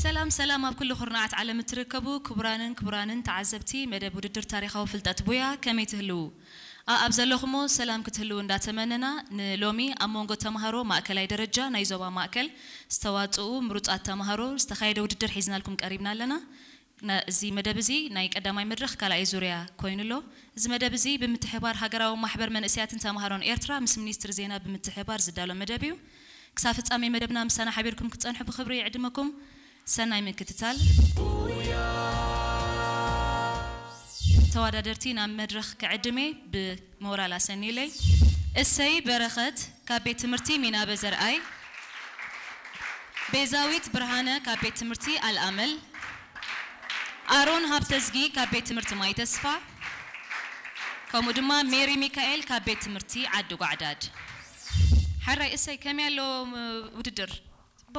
ሰላም ሰላም፣ ኣብ ኩሉ ኩርናዓት ዓለም እትርከቡ ክቡራንን ክቡራንን ተዓዘብቲ መደብ ውድድር ታሪኻዊ ፍልጠት ቡያ፣ ከመይ ትህልዉ? ኣኣብ ዘለኹሞ ሰላም ክትህልዉ እንዳተመነና፣ ንሎሚ ኣብ መንጎ ተምሃሮ ማእከላይ ደረጃ ናይ ዞባ ማእከል ዝተዋጽኡ ምሩጻት ተምሃሮ ዝተኻየደ ውድድር ሒዝናልኩም ቀሪብና ኣለና። እዚ መደብ እዚ ናይ ቀዳማይ መድረኽ ካልኣይ ዙርያ ኮይኑ ኣሎ። እዚ መደብ እዚ ብምትሕባር ሃገራዊ ማሕበር መንእሰያትን ተምሃሮን ኤርትራ ምስ ሚኒስትሪ ዜና ብምትሕባር ዝዳሎ መደብ እዩ። ክሳብ ፍጻሜ መደብና ምሳና ሓቢርኩም ክትጸንሑ ብኽብሪ ይዕድመኩም። ሰናይ ምክትታል። ተወዳደርቲ ናብ መድረኽ ክዕድሜ ብሞራል ኣሰንዩለይ። እሰይ በረኸት ካብ ቤት ትምህርቲ ሚናበ ዘርኣይ፣ ቤዛዊት ብርሃነ ካብ ቤት ትምህርቲ ኣልኣመል፣ ኣሮን ሃብተዝጊ ካብ ቤት ትምህርቲ ማይ ተስፋ፣ ከምኡ ድማ ሜሪ ሚካኤል ካብ ቤት ትምህርቲ ዓዲ ጓዕዳድ። ሓራይ እሰይ፣ ከመይ ኣሎ ውድድር?